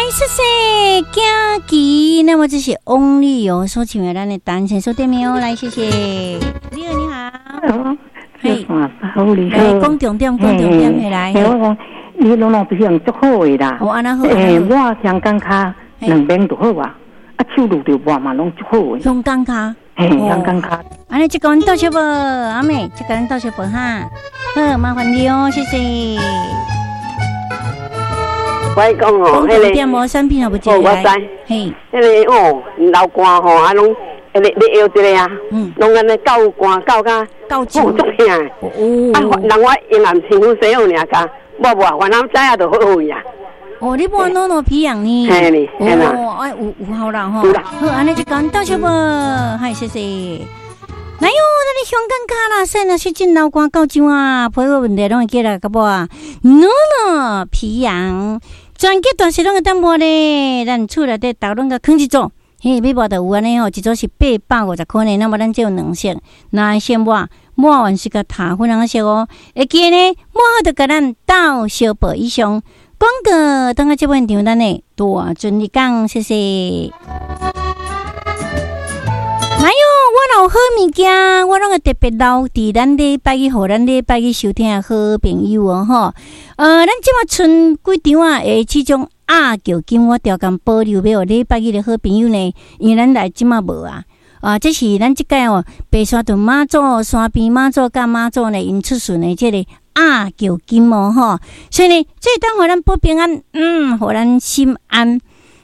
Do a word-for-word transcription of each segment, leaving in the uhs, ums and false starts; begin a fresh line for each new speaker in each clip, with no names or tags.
謝謝佳琪。那麼這是翁立友所唱的咱的單身守店哦，來謝謝。你好，你好。
嘿，好，你好。
講重點，講重點起來。
我講，你攏攏皮樣足好的啦。
哦，按呢好。
欸，我香港跤兩邊就好啊，啊手攄著抹嘛攏足好的。
香港跤。
嘿，香港跤。
按呢，這個阮倒小無，阿妹，這個阮倒小無哈。好，麻煩你哦，謝謝。
我講哦，彼個
點無產品也無
哦，我知。
嘿，
彼個哦，流汗吼，啊攏，彼個你腰這個啊，攏按呢夠汗夠甲，
夠
足疼。哦。啊，人我用暗身軀洗好爾，共抹抹，反正知影就好好去啊。
哦，你抹糯糯皮樣呢？
嘿呢，嘿啦。
哦，哎，有有效啦吼。好，按呢就講到這無，嗨，謝謝。來喲，咱的香港跤啦，說若是真流汗夠上啊，皮膚問題攏會起來，甲無啊？糯糯皮樣，全國大細攏會當抹咧，咱厝內底逐攏共囥一組，嘿，欲抹就有按呢吼，一組是八百五十箍呢，那麼咱這有兩色，若先抹，抹完是共塗粉紅色哦，會記呢，抹好就共咱鬥相報以上廣告，等下這邊場咱的大尊日講，謝謝。來喲，我若有好物件，我攏會特別留佇咱禮拜一，予咱禮拜一收聽的好朋友哦，吼。呃，咱這馬賰幾張啊，的這種鴨腳金，我調工保留欲予禮拜一的好朋友呢，因為咱來這馬無啊。啊，這是咱這屆哦，白沙屯媽祖山邊媽祖佮媽祖呢，𪜶出巡的這個鴨腳金哦，吼。所以呢，這當予咱保平安，嗯，予咱心安。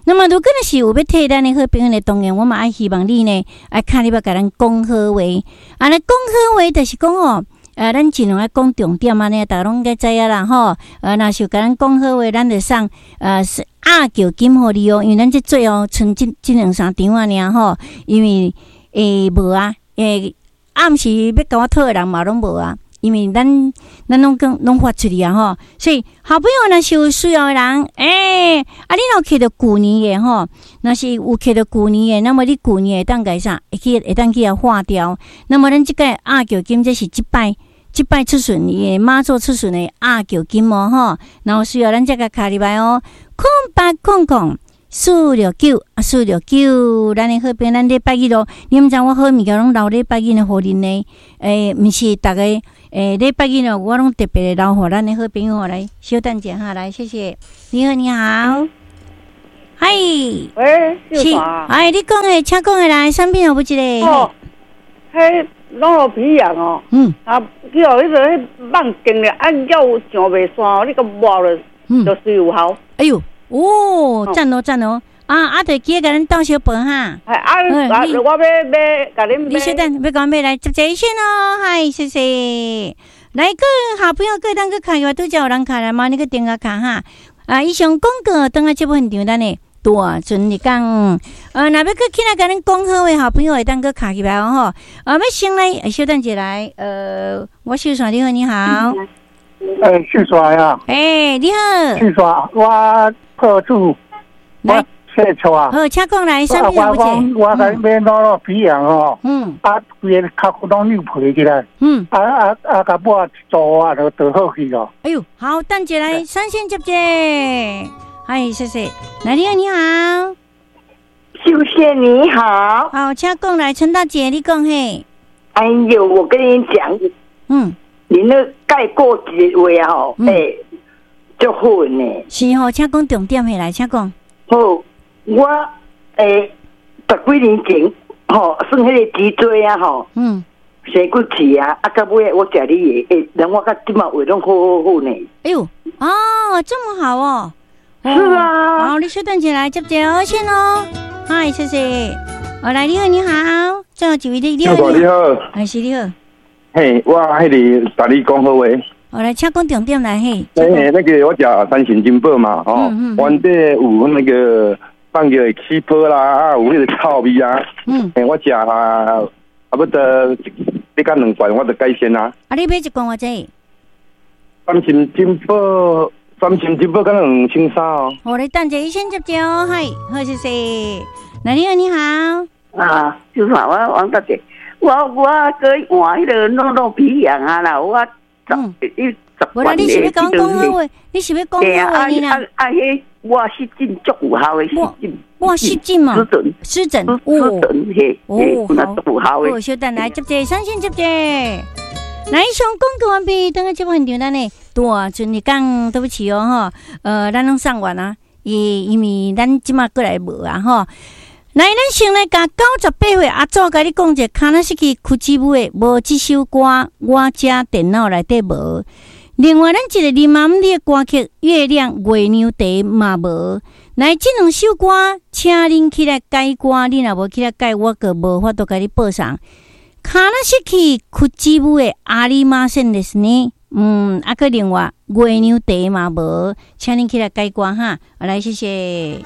那麼，如果若是有欲替咱的好朋友的，當然我嘛愛希望你呢，愛敲入來共咱講好話。啊，那講好話就是講哦，呃，咱盡量愛講重點按呢，逐家攏應該知影啦吼。呃，若是有共咱講好話，咱就送呃是鴨腳金予你哦，因為咱這最後賰這這兩三張仔爾吼，因為欸無啊，欸暗時欲共我討的人嘛攏無啊。因為咱咱攏講攏發出去啊吼，所以好朋友若是有需要的人，欸，啊，你若有揢著舊年的吼，若是有揢著舊年的，那麼你舊年會當共啥？會去會當去共劃掉。那麼咱這個鴨腳金，這是這擺這擺出巡伊的媽祖出巡的鴨腳金哦吼，若有需要咱才共敲入來哦，空八空空四六九啊，四六九，咱的好朋友，咱禮拜一咯，你毋知我好物件攏留禮拜一的予恁呢？欸，毋是逐个。欸，禮拜一哦，我攏特別留予咱的好朋友來，稍等一下哈，來，謝謝。你好，你好。嗨。
喂，
是，哎，你講的，請講的來，啥品有無一个？
哦，彼攏落皮樣哦。
嗯。
啊，去予彼个彼蠓叮咧，啊，了上袂散哦，你閣抹落，就水有效。
哎喲，哦，讚哦，讚哦。啊啊！就記得共咱鬥相報哈。
啊啊！我欲欲共恁
你稍等，欲共買來接一線哦。嗨，謝謝。來個好朋友，閣當閣敲入，拄才有人敲來嘛？你閣電話敲哈。啊，以上廣告，等下節目現場咱的大尊日講。呃，若欲閣起來共恁講好的好朋友，會當閣敲入來哦吼。啊，欲先來，稍等一下來。呃，我秀山，你好，你好。
欸，秀山啊。
欸，你好。
秀山，我破主。來。姓蔡啊！
好，請講來，啥物
我講，我共買攞落皮樣吼，
嗯，
啊，規個較攏扭皮起來，
嗯，
啊啊啊，共抹一組啊，就就好去咯。
哎喲，好，等一下來，三線接接，嗨，謝謝。來，你好，你好，
秀仙你好，
好，請講來，陳大姐，你講嘿。
哎喲，我跟你講，
嗯，
你那蓋過一個話吼，欸，足好呢。
是吼，請講重點的來，請講。
好。我欸，十幾年前吼，算彼个脊椎啊吼，
嗯，
生骨刺啊，啊，到尾我食你的，欸，人我到這馬話攏好好好呢。
哎喲，哦，這麼好哦。
是啊。
好，你稍等一下來接熱線哦。嗨，謝謝。哦，來，你好，你好，最後一位你，你好，
你好，
還是你好。
嘿，我彼個共你講好話。
哦，來，請講重點來嘿。
欸，那個我食三神珍寶嘛，吼，原底有那個。放藥會起泡啦，啊，有彼個臭味啊。
嗯。
欸，我食啊，啊，不得一工兩罐，我就改善啊。
啊，你買一罐偌濟？
三神珍寶，三神珍寶敢若兩千三哦。
好，你等一下，醫生接接哦，嗨，好，謝謝。來，你好，你好。
啊，就是我王大姐，我我閣換彼個糯糯皮樣啊啦，我十一十
無啦，你是欲講講好話？你是欲講好話呢啦？
啊啊，彼抹湿疹足有效的湿疹。
抹湿疹嘛，
湿疹，
湿疹，
湿疹嘿，
哦，
好，足有效的。
好，稍等来接者，三线接者。来，上广告完毕，等下节目现场咱呢，大阵日讲，对不起哦吼，呃，咱拢送完啊，因因为咱这马过来无啊吼。来，咱先来共九十八岁阿祖共你讲一个，卡纳斯基屈指舞的无这首歌，我遮电脑内底无。另外，咱一个林妈姆的歌曲《月亮月娘茶》嘛无。来，这两首歌，请恁起来改歌，你若无起来改，我阁无法度共你播送。卡纳斯基屈指舞的ありませんですね。嗯，啊，阁另外月娘茶嘛无，请恁起来改歌哈。来，谢谢。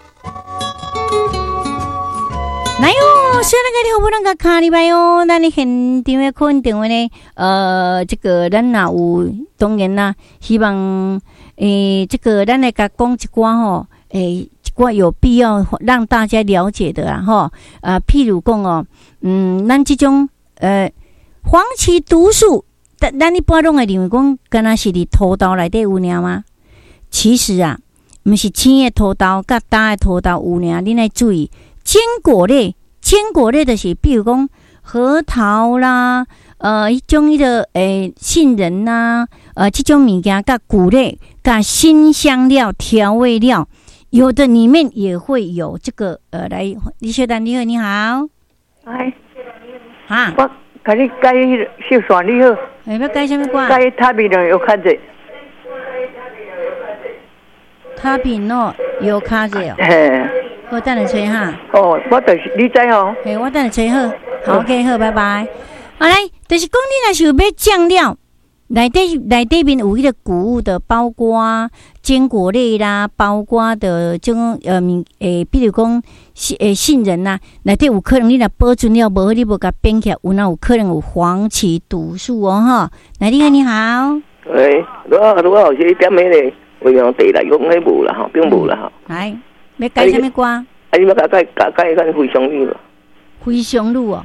来哦，虽然个你好不能个卡入来哦，咱的现场的可能电话呢，呃，这个咱若有当然啦，希望诶、欸，这个咱来共讲一寡吼，诶、欸，一寡有必要让大家了解的啦吼，啊，譬如讲哦，嗯，咱这种呃黄芪毒素，咱咱一般拢会认为讲，敢若是伫土豆内底有尔吗？其实啊，毋是青的土豆佮焦的土豆有尔，恁爱注意。坚果类，坚果类就是，比如讲核桃啦，呃，彼种彼个诶杏仁呐，呃，这种物件佮谷类、佮辛香料、调味料，有的里面也会有这个呃，来，李雪丹，你好，你好，
哎，
哈，
我共你改秀山，你好，
欸，欲改啥物歌？
改塔比诺药卡子，
塔比诺药卡子哦。
嘿。
好，等下揣哈。
哦，我就是你知吼。
嘿，我等下揣好。好，OK，好，拜拜。好来，就是讲你若是有买酱料，内底内底面有彼个谷物的，包括坚果类啦，包括的这种呃物诶，比如讲诶杏仁呐，内底有可能你若保存了无好，你无共变起来，有哪有可能有黄芪毒素哦吼。来，你好，你好。
喂，卢啊卢啊，老师，你点彼个月娘茶来讲，彼无啦吼，并无啦吼。
来。欲改啥物歌？
啊，你欲共改改改咱非常女无？
非常女哦，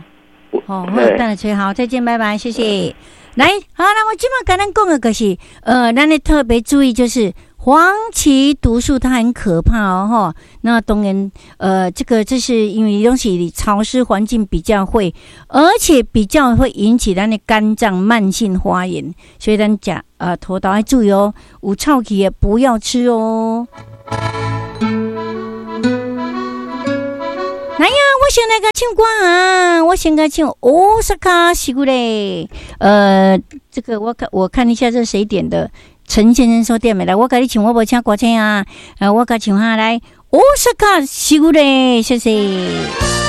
哦，好，等下揣好，再见，拜拜，谢谢。来，好，那我这马共咱讲的就是，呃，咱得特别注意，就是黄芪毒素它很可怕哦，吼。那当然，呃，这个这是因为东西潮湿环境比较会，而且比较会引起咱的肝脏慢性发炎，所以咱食呃土豆爱注意哦，有臭气的不要吃哦。来呀，我先来共唱歌啊！我先共唱大阪しぐれ。呃，这个我看我看一下这是谁点的？陈先生说点的来，我共你唱，我无请歌星啊，呃，我共唱哈来，大阪しぐれ，谢谢。